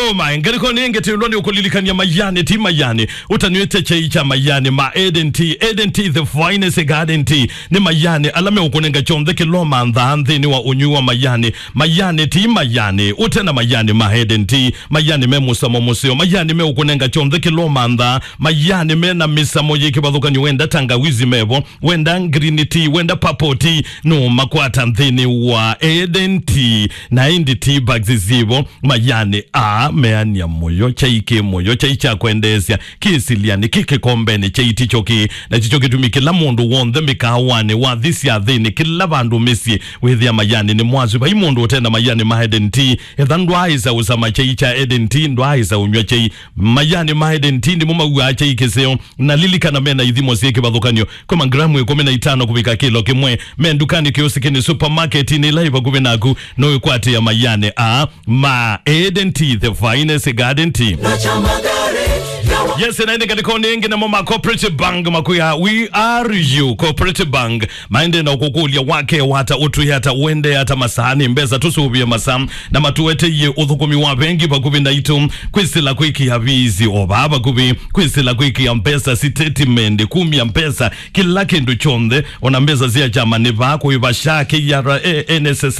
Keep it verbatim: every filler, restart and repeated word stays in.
Oh my, ngalĩkonĩ ĩngĩ twĩlwa nĩ ũkũlilikany'a Mayani, ti Mayani. Ũtanĩte kyai kya Mayani, ma Eden Tea, Eden Tea, the finest garden tea. Nĩ Mayani, ala meũkũnenga kyonthe kĩla ũmanthaa nthĩnĩ wa ũnywi wa Mayani. Mayani, ti Mayani. Ũte na Mayani ma Eden Tea, Mayani me mũsamo mũseo. Mayani meũkũnenga kyonthe kĩla ũmanthaa. Mayani me na mĩsamo yĩ kĩvathũkany'o. Wenda tangawizi mevo, wenda green tea, wenda purple tea, no makwata nthĩnĩ wa Eden Tea. Na ĩndĩ tea bags zivo. Mayani a meania mũyo, kyai kĩ mũyo, kyai kya kwendeesya, kĩ silianĩ, kĩ kĩkombenĩ, kyai tikyo kĩ. Na tikyo kĩtumi kĩla mũndũ w'onthe mĩkaawanĩ, wathi syathĩnĩ, kĩla vandũ mĩsyĩ, wĩthĩa Mayani nĩ mwasu. Vai mũndũ ũte na Mayani ma Eden Tea, etha ndwaaĩsa ũsama kyai kya Eden Tea, ndwaaĩsa ũnyw'a kyai. Mayani ma Eden Tea nĩmo mauaa kyai kĩseo. Na lilikana, mena ithimo syĩ kĩvathũkany'o, kuma ngramu ĩkũmi na itano kũvika kĩlo kĩmwe. Me ndukanĩ, kĩosikĩnĩ, supermarketinĩ ĩla ĩ vakuvĩ naku, no ĩkwatĩa Mayani a ma Eden Tea, the finest garden tea. Yes, na ĩndĩ ngalĩkonĩ ĩngĩ namo ma Cooperative Bank makwĩa, "We are you." Cooperative Bank maendee na ũkũkũlya, wake wata, ũtwĩe ata, ũendee ata, masaa nĩ mbesa, tũsũvĩe masaa, na matũeteie ũthũkũmi wa vengi vakuvĩ naitũ, kwĩsĩla kwĩkĩa visi o vaa vakuvĩ, kwĩsĩla kwĩkĩa mbesa sitatimenti, kumya mbesa, kĩla kĩndũ kyonthe, ona mbesa sya kyama nĩ vaa, kũĩva sha, K R A, N S S F,